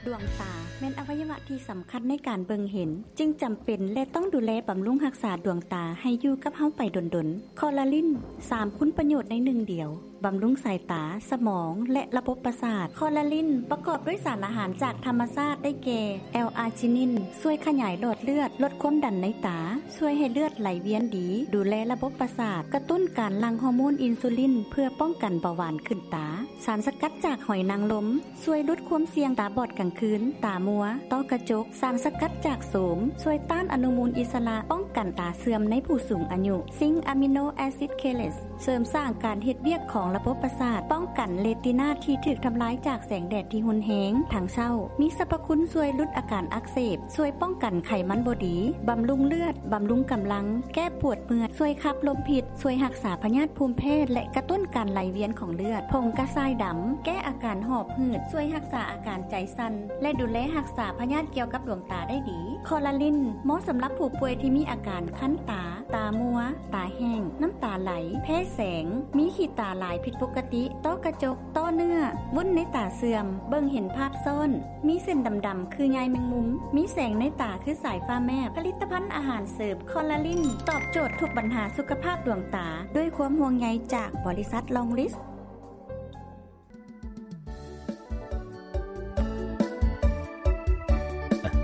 ດວງຕາແມ່ນອະໄວຍະວະທີ່ສຳຄັນໃນການເບິ່ງເຫັນ, ຈຶ່ງຈຳເປັນ ແລະ ຕ້ອງດູແລບຳລຸງຮັກສາດວງຕາໃຫ້ຢູ່ກັບເຮົາໄປດົນໆ. ຄໍລາລິນ ສາມຄຸນປະໂຫຍດໃນໜຶ່ງດຽວ, ບຳລຸງສາຍຕາ, ສະໝອງ ແລະ ລະບົບປະສາດ. ຄໍລາລິນປະກອບດ້ວຍສານອາຫານຈາກທຳມະຊາດໄດ້ແກ່ ແອລອາຈິນິນ ຊ່ວຍຂະຫຍາຍຫຼອດເລືອດ, ລົດຄວາມດັນໃນຕາ, ຊ່ວຍໃຫ້ເລືອດໄຫຼວຽນດີ, ດູແລລະບົບປະສາດ, ກະຕຸ້ນການຫຼັ່ງຮໍໂມນອິນຊູລິນເພື່ອປ້ອງກັນເບົາຫວານຂຶ້ນຕາ. ສານສະກັດຈາກຫອຍນາງລົມ ຊ່ວຍຫຼຸດຄວາມສ່ຽງຕາບອດກາງຄືນ, ຕາມົວ, ຕ້ອກະຈົກ. ສານສະກັດຈາກໂສມ ຊ່ວຍຕ້ານອະນຸມູນອິດສະຫຼະ, ປ້ອງກັນຕາເສື່ອມໃນຜູ້ສູງອາຍຸ. ຊິງອາມິໂນແອຊິດເຄເລດ ເສີມສ້າງການເຮັດວຽກຂອງລະບົບປະສາດ, ປ້ອງກັນເຣຕີນາທີ່ຖືກທຳລາຍຈາກແສງແດດທີ່ຮຸນແຮງທັງເຊົ້າ. ມີສັບພະຄຸນຊ່ວຍຫຼຸດອາການອັກເສບ, ຊ່ວຍປ້ອງກັນໄຂມັນບໍ່ດີ, ບຳລຸງເລືອດ, ບຳລຸງກຳລັງ, ແກ້ປວດເມື່ອຍ, ຊ່ວຍຂັບລົມພິດ, ຊ່ວຍຮັກສາພະຍາດພູມແພ້ ແລະ ກະຕຸ້ນການໄຫຼວຽນຂອງເລືອດ. ຜົງກະຊາຍດຳ ແກ້ອາການຫອບຫືດ, ຊ່ວຍຮັກສາອາການໃຈສັ່ນ ແລະ ດູແລຮັກສາພະຍາດກ່ຽວກັບດວງຕາໄດ້ດີ. ຄໍລາລິນ ເໝາະສຳລັບຜູ້ປ່ວຍທີ່ມີອາການຄັນຕາ, ຕາມົວ, ຕາແຫ້ງ, ນ້ຳຕາໄຫຼ, ແພ້ແສງ, ມີຂີ້ຕາຫຼາຍຜິດປົກກະຕິ, ຕ້ອກະຈົກ, ຕ້ອເນື້ອ, ວຸ້ນໃນຕາເສື່ອມ, ເບິ່ງເຫັນພາບຊ້ອນ, ມີເສັ້ນດຳໆຄືໃຍແມງມຸມ, ມີແສງໃນຕາຄືສາຍຟ້າແມບ. ຜະລິດຕະພັນອາຫານເສີມຄໍລາລິນ ຕອບໂຈດທຸກບັນຫາສຸຂະພາບດວງຕາ ດ້ວຍຄວາມຫ່ວງໃຍຈາກບໍລິສັດລອງລິສ.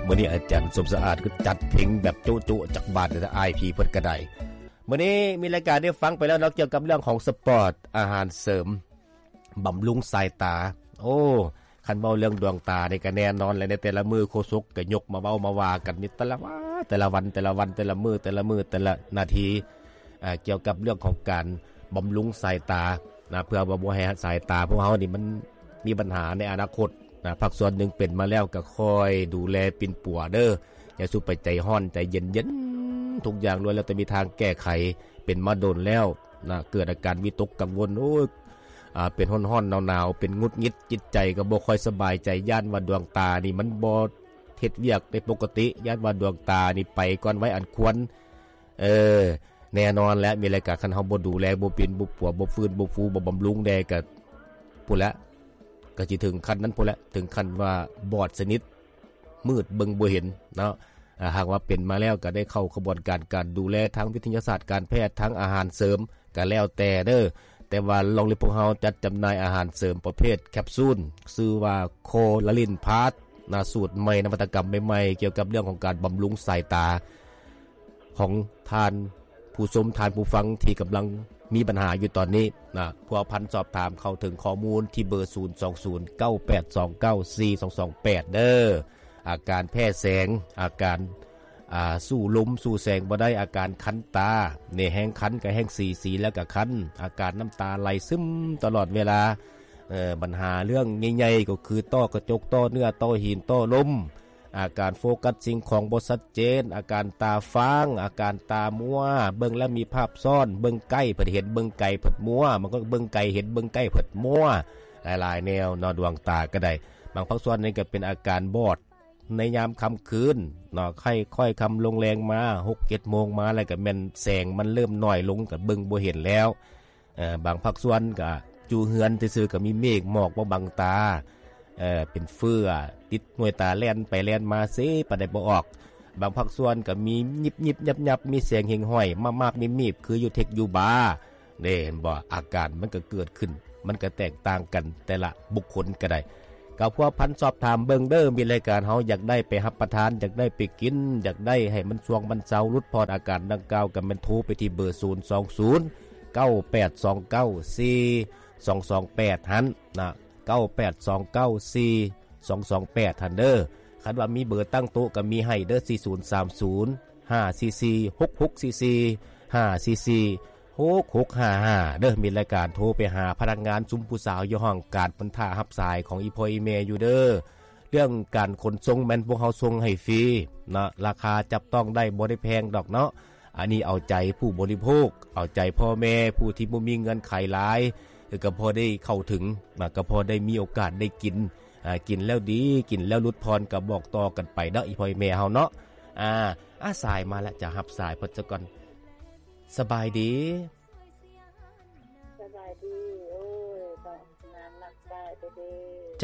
ມື້ນີ້ອາຈານສົມສະອາດຄືຈັດເພງແບບໂຈະໆຈັກບາດເດີ ອ້າຍພີ່ເພິ່ນກະໄດ້. ມື້ນີ້ມີລາຍການໄດ້ຟັງໄປແລ້ວເນາະ ກ່ຽວກັບເລື່ອງຂອງສະປອດ, ອາຫານເສີມ, ບຳລຸງສາຍຕາ. ໂອ້ ຄັນເວົ້າເລື່ອງດວງຕານີ້ກະແນ່ນອນແຫຼະ ໃນແຕ່ລະມື້ໂຄສົກກະຍົກມາເວົ້າມາວ່າກັນນີ້ ແຕ່ລະວັນ ແຕ່ລະວັນ ແຕ່ລະວັນ ແຕ່ລະມື້ ແຕ່ລະມື້ ແຕ່ລະນາທີ ອ່າ ກ່ຽວກັບເລື່ອງຂອງການບຳລຸງສາຍຕານະ ເພື່ອວ່າບໍ່ໃຫ້ສາຍຕາພວກເຮົານີ້ມັນມີບັນຫາໃນອະນາຄົດນະ. ພາກສ່ວນໜຶ່ງເປັນມາແລ້ວກໍຄ່ອຍດູແລປິ່ນປົວເດີ ຢ່າສູ່ໄປໃຈຮ້ອນໃຈເຢັນໆ ທຸກຢ່າງລ້ວນແລ້ວແຕ່ມີທາງແກ້ໄຂ. ເປັນມາດົນແລ້ວນະ ເກີດອາການວິຕົກກັງວົນ ໂອ້ຍ ອ່າ ເປັນຮ້ອນໆ ໜາວໆ ເປັນຫງຸດຫງິດ ຈິດໃຈກໍບໍ່ຄ່ອຍສະບາຍໃຈ ຢ້ານວ່າດວງຕານີ້ມັນບໍ່ເຮັດວຽກໄດ້ປົກກະຕິ ຢ້ານວ່າດວງຕານີ້ໄປກ່ອນໄວອັນຄວນ. ເອີ ແນ່ນອນແຫຼະ ມີລາຍການ ຄັນເຮົາບໍ່ດູແລ ບໍ່ປິ່ນ ບໍ່ປົວ ບໍ່ຟື້ນ ບໍ່ຟູ ບໍ່ບຳລຸງແດ່ ກະພຸ້ນແຫຼະ ກະຊິເຖິງຂັ້ນນັ້ນພຸ້ນແຫຼະ ເຖິງຂັ້ນວ່າບອດສະໜິດ ມືດເບິ່ງບໍ່ເຫັນເນາະ. ອ່າ ຫາກວ່າເປັນມາແລ້ວ ກະໄດ້ເຂົ້າຂະບວນການການດູແລທາງວິທະຍາສາດການແພດ ທາງອາຫານເສີມ ກະແລ້ວແຕ່ເດີ. ແຕ່ວ່າລອງລິບພວກເຮົາຈັດຈຳໜ່າຍອາຫານເສີມປະເພດແຄບຊູນ ຊື່ວ່າ ໂຄລາລິນພາສ ນະ ສູດໃໝ່ ນະວັດຕະກຳໃໝ່ໆ ກ່ຽວກັບເລື່ອງຂອງການບຳລຸງສາຍຕາ ຂອງທ່ານຜູ້ຊົມ ທ່ານຜູ້ຟັງທີ່ກຳລັງມີບັນຫາຢູ່ຕອນນີ້ນະ ພົວພັນສອບຖາມເຂົ້າເຖິງຂໍ້ມູນທີ່ເບີ ສູນສອງສູນ ເກົ້າແປດສອງເກົ້າ ສີ່ສອງສອງແປດ ເດີ. ອາການແພ້ແສງ, ອາການ ອ່າ ສູ້ລົມສູ້ແສງບໍ່ໄດ້, ອາການຄັນຕາ ນີ້ແຮງຄັນກໍແຮງສີ ສີແລ້ວກໍຄັນ, ອາການນ້ຳຕາໄຫຼຊຶມຕະຫຼອດເວລາ, ເອີ ບັນຫາເລື່ອງໃຫຍ່ໆກໍຄື ຕ້ອກະຈົກ, ຕ້ອເນື້ອ, ຕ້ອຫີນ, ຕ້ລົມ, ອາການໂຟກັສສິ່ງຂອງບໍ່ຊັດເຈນ, ອາການຕາຟາງ, ອາການຕາມົວ, ເບິ່ງແລ້ວມີພາບຊ້ອນ, ເບິ່ງໃກ້ເພິ່ນເຫັນ, ເບິ່ງໄກເພິ່ນມົວ, ບາງຄົນກໍເບິ່ງໄກເຫັນ, ເບິ່ງໃກ້ເພິ່ນມົວ, ຫຼາຍໆແນວເນາະ. ດວງຕາກໍໄດ້, ບາງພາກສ່ວນນີ້ກໍເປັນອາການບອດໃນຍາມຄ່ຳຄືນເນາະ, ຄ່ອຍໆຄ່ຳລົງແລງມາ ຫົກເຈັດໂມງມາ ແລ້ວກໍແມ່ນແສງມັນເລີ່ມໜ້ອຍລົງ, ກໍເບິ່ງບໍ່ເຫັນແລ້ວ. ເອີ ບາງພາກສ່ວນກະຢູ່ເຮືອນຊື່ໆ ກະມີເມກໝອກມາບັງຕາ, ເອີ ເປັນເຟືອຕິດໜ່ວຍຕາ ແລ່ນໄປແລ່ນມາເຊ ປານໃດບໍ່ອອກ. ບາງພາກສ່ວນກະມີຍິບໆຍັບໆ ມີແສງເຫງຫ້ອຍ ມາບໆມີບໆ ຄືຢູ່ເທັກຢູ່ບາ ເດ້ ເຫັນບໍ່? ອາການມັນກະເກີດຂຶ້ນ ມັນກະແຕກຕ່າງກັນ ແຕ່ລະບຸກຄົນກະໄດ້. ກໍພົວພັນສອບຖາມເບິ່ງເດີ ມີລາຍການເຮົາຢາກໄດ້ໄປຮັບປະທານ, ຢາກໄດ້ໄປກິນ, ຢາກໄດ້ໃຫ້ມັນຊ່ວງມັນເຊົາ, ຫຼຸດຜ່ອນອາການດັ່ງກ່າວ, ກໍແມ່ນໂທໄປທີ່ເບີ ສູນສອງສູນ ເກົ້າແປດສອງເກົ້າ ສີ່ສອງສອງແປດ ຫັ້ນນະ, ເກົ້າແປດສອງເກົ້າ ສີ່ສອງສອງແປດ ຫັ້ນເດີ. ຄັນວ່າມີເບີຕັ້ງໂຕະກໍມີໃຫ້ເດີ ສີ່ສູນສາມສູນ ຫ້າສີ່ສີ່ ຫົກຫົກສີ່ສີ່ ຫ້າສີ່ສີ່ ຫົກຫົກຫ້າຫ້າ ເດີ. ມີລາຍການໂທໄປຫາພະນັກງານຊຸມຜູ້ສາວຢູ່ຫ້ອງການ ເພິ່ນຖ້າຮັບສາຍຂອງອີ່ພໍ່ອີ່ແມ່ຢູ່ເດີ. ເລື່ອງການຂົນສົ່ງແມ່ນພວກເຮົາສົ່ງໃຫ້ຟຣີເນາະ, ລາຄາຈັບຕ້ອງໄດ້ ບໍ່ໄດ້ແພງດອກເນາະ. ອັນນີ້ເອົາໃຈຜູ້ບໍລິໂພກ, ເອົາໃຈພໍ່ແມ່ຜູ້ທີ່ບໍ່ມີເງື່ອນໄຂຫຼາຍ, ກໍພໍໄດ້ເຂົ້າເຖິງນະ, ກໍພໍໄດ້ມີໂອກາດໄດ້ກິນ. ອາ ກິນແລ້ວດີ, ກິນແລ້ວຫຼຸດຜ່ອນ ກໍບອກຕໍ່ກັນໄປເນາະ ອີ່ພໍ່ອີ່ແມ່ເຮົາເນາະ. ອາ ອາ ສາຍມາແລ້ວ, ຈະຮັບສາຍເພິ່ນຊະກ່ອນ. ສະບາຍດີ. ສະບາຍດີ. ໂອ້ຍ ຕ້ອງງາມນຳສາຍເດ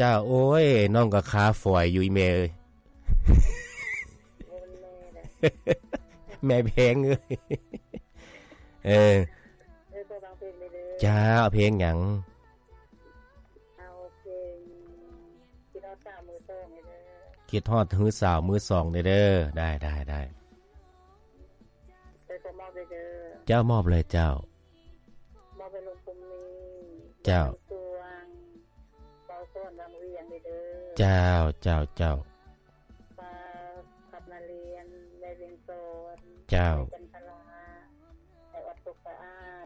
ີ. ເຈົ້າ ໂອ້ຍ ນ້ອງກໍຄາຝອຍຢູ່ ອີ່ແມ່ເອີຍ. ບໍ່ແມ່ນແມ່ເດ້ ແມ່ແພງເອີຍ. ເອີ ເອີ ຂໍຟັງເພງແດ່ເດີ. ເຈົ້າ ເອົາເພງຫຍັງ? ເອົາເພງ ຄິດຮອດສາວມືສອງແດ່ເດີ. ຄິດຮອດຮືສາວມືສອງແດ່ເດີ. ໄດ້ ໄດ້ ໄດ້. ເອີ ຂໍມອບແດ່ເດີ. ເຈົ້າ ມອບເລີຍເຈົ້າ. ມອບໃຫ້ລຸງພູມີ ເຈົ້າ ສວງ ເບົາສອນວັງວຽງແດ່ເດີ. ເຈົ້າ ເຈົ້າ ເຈົ້າ. ປ້າ ຂັບນາລຽນ ແມ່ວຽງສອນ ເຈົ້າ ແມ່ຈັນທະລາ ໃຫ້ອອດສຸກສະອາດ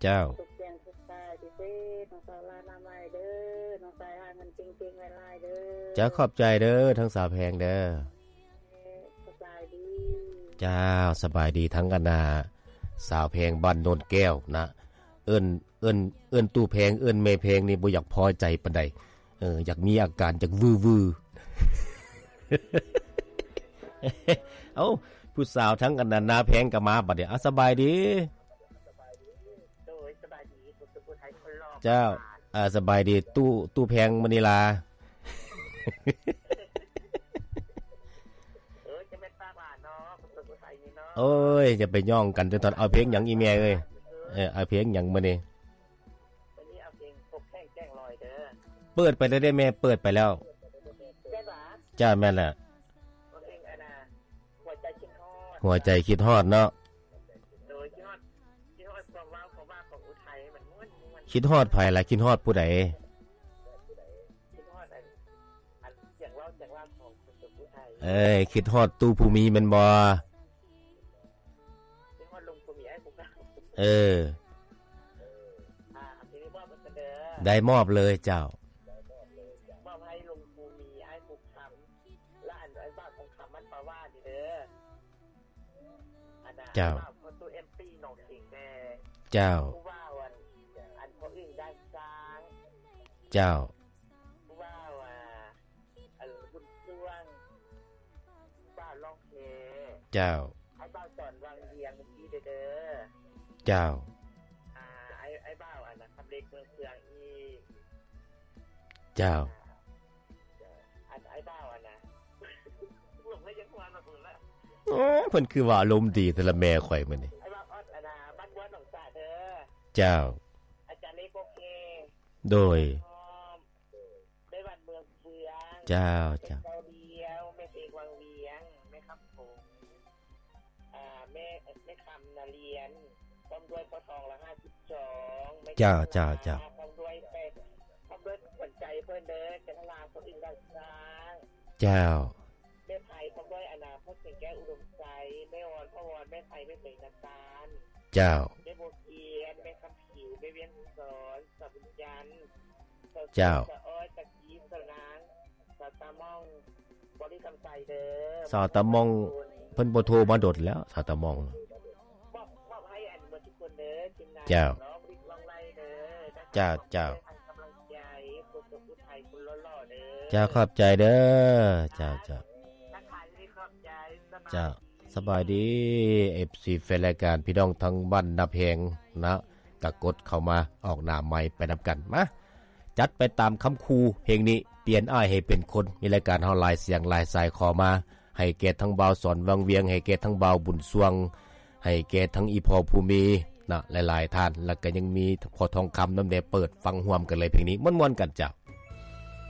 ເຈົ້າ ສຸກແຈ້ງສຸກໃສ ພິເສດ ນ້ອງສາວລາວໜ້າໃໝ່ເດີ. ນ້ອງສາຍຫາເງິນເກັ່ງໆ ຫຼາຍໆ ເດີ. ເຈົ້າ ຂອບໃຈເດີ ທັງສາວແພງເດີ. ສະບາຍດີ. ເຈົ້າ ສະບາຍດີ ທັງອັນນ່າ ສາວແພງບ້ານໂນນແກ້ວນະ. ເອີ້ນ ເອີ້ນ ເອີ້ນຕູ້ແພງ ເອີ້ນແມ່ແພງນີ້ບໍ່ຢາກພໍໃຈປານໃດ. ເອີ ຢາກມີອາການ ຢາກວືໆ. ເອົ້າ ຜູ້ສາວທັງອັນນັ້ນນາແພງກໍມາບັດນີ້. ອາ ສະບາຍດີ. ໂດຍ ສະບາຍດີ ຜູ້ສຸກຜູ້ໄທຄົນຫຼໍ່. ເຈົ້າ ອາ ສະບາຍດີ ຕູ້ ຕູ້ແພງມະນີລາ. ເອີ ຈະແມ່ນປາກຫຼານເນາະ ຜູ້ສຸກຜູ້ໄທນີ້ເນາະ. ໂອ້ຍ ຢ່າໄປຍ່ອງກັນເທື່ອ. ເອົາເພງຫຍັງອີ່ແມ່ເອີຍ? ເອີ ເອົາເພງຫຍັງມື້ນີ້? ມື້ນີ້ເອົາເພງພົບແຂ້ງແກ້ງລອຍເດີ. ເປີດໄປແລ້ວເດ້ແມ່ ເປີດໄປແລ້ວ. ແມ່ນຫວາ? ຈ້າ ແມ່ນແຫຼະ. ເອົາເພງອັນນ່າ ຫົວໃຈຄິດຮອດ. ຫົວໃຈຄິດຮອດເນາະ. ໂດຍ ຄິດຮອດ ຄິດຮອດຄວາມເວົ້າ ຄວາມວ່າຂອງອຸໄທ ມັນມ່ວນໆ. ຄິດຮອດໃຜລະ? ຄິດຮອດຜູ້ໃດ? ຄິດຮອດອັນ ອັນສຽງເວົ້າ ສຽງວ່າຂອງຄົນສຸກຜູ້ໄທ. ເອີຍ ຄິດຮອດຕູ້ພູມີແມ່ນບໍ່? ເອີ ອ່າ ທີນີ້ມອບໃຫ້ເພິ່ນເດີ. ໄດ້ ມອບເລີຍເຈົ້າ. ມອບໃຫ້ລຸງພູມີ ອ້າຍພູຄຳ ແລະ ອັນ ອ້າຍບ່າວທອງຄຳ ມັນປາວານີ້ເດີ. ອັນນ່າ ເຈົ້າ ອ້າຍບ່າວພໍ່ຕູ້ ເອັມ ປີ ໜອງເຂງແດ່. ເຈົ້າ ຜູ້ບ່າວອັນ ອັນພໍ່ອຶ່ງດ່ານຊ້າງ. ເຈົ້າ ຜູ້ບ່າວ ອ່າ ເອີ ບຸນຊ່ວງ ບ່າວລ້ອງແຄ. ເຈົ້າ ອ້າຍບ່າວສອນວັງວຽງມື້ກີ້ເດີ. ເຈົ້າ ອ່າ ອ້າຍ ອ້າຍບ່າວອັນນ່າ ຄຳເລັກເມືອງເຊືອງອີກ. ເຈົ້າ ອັນ ອ້າຍບ່າວອັນນ່າ ໂອ້ ເພິ່ນຄືວ່າອາລົມດີແທ້ລະແມ່ຂ້ອຍມື້ນີ້. ອ້າຍບ່າວອອດອັນນ່າ ບ້ານບົວໜອງສາເດີ. ເຈົ້າ ອາຈານເລັກ ໂອເຄ. ໂດຍ ແມ່ວັນເມືອງເຟືອງ. ເຈົ້າ ເຈົ້າ ແມ່ເຈົ້າດຽວ ແມ່ເອກວັງວຽງ ແມ່ຄຳຜົງ ອ່າ ແມ່ ແມ່ຄຳນາລຽນ ພ້ອມດ້ວຍພໍ່ທອງລະຫ້າສິບສອງ. ເຈົ້າ ເຈົ້າ ເຈົ້າ ພ້ອມດ້ວຍແປດ ພ້ອມດ້ວຍຂວັນໃຈເພິ່ນເດີ ຈັນທະລາ ພໍ່ອຶ່ງດ່ານຊ້າງ. ເຈົ້າ ແມ່ໄພ ພ້ອມດ້ວຍອະນາ ພໍ່ແສງແກ້ວ ອຸດົມໄຊ ແມ່ອອນ ພໍ່ວອນ ແມ່ໄພ ແມ່ເສງ ນາຕານ. ເຈົ້າ ແມ່ບົວກຽນ ແມ່ຄຳ ຜິວ ແມ່ວຽງສອນ ສາວບຸນຈັນ. ເຈົ້າ ສາວອ້ອຍ ຕາກີ ສາວນາງ ສາວຕາມ່ອງ ບໍລິຄຳໄຊເດີ. ສາວຕາມ່ອງ ເພິ່ນບໍ່ໂທມາດົນແລ້ວ ສາວຕາມ່ອງ. ມອບ ມອບໃຫ້ອັນໝົດທຸກຄົນເດີ ທີມງານ. ເຈົ້າ ເນາະ ບໍລິລອງໄລ່ເດີ. ເຈົ້າ ເຈົ້າ ໃຫ້ກຳລັງໃຈຄົນສຸກຜູ້ໄທຄົນຫຼໍ່ໆເດີ. ເຈົ້າ ຂອບໃຈເດີ. ເຈົ້າ ເຈົ້າ ທັກທາຍດີ ຂອບໃຈ. ເຈົ້າ ສະບາຍດີ ເອັຟຊີ ແຟນລາຍການ ພີ່ນ້ອງທາງບ້ານນາແພງນະ ກະກົດເຂົ້າມາອອກໜ້າໄມໄປນຳກັນ. ມາ ຈັດໄປຕາມຄຳຂູ່ ເພງນີ້ ປ່ຽນອ້າຍໃຫ້ເປັນຄົນ. ມີລາຍການເຮົາຫຼາຍສຽງຫຼາຍສາຍຂໍມາ ໃຫ້ແກ່ທັງບ່າວສອນວັງວຽງ ໃຫ້ແກ່ທັງບ່າວບຸນຊ່ວງ ໃຫ້ແກ່ທັງອີ່ພໍ່ພູມີນະ ຫຼາຍໆທ່ານ ແລ້ວກະຍັງມີພໍ່ທອງຄຳນຳແດ່. ເປີດຟັງຮ່ວມກັນເລີຍເພງນີ້ ມ່ວນໆກັນເຈົ້າ.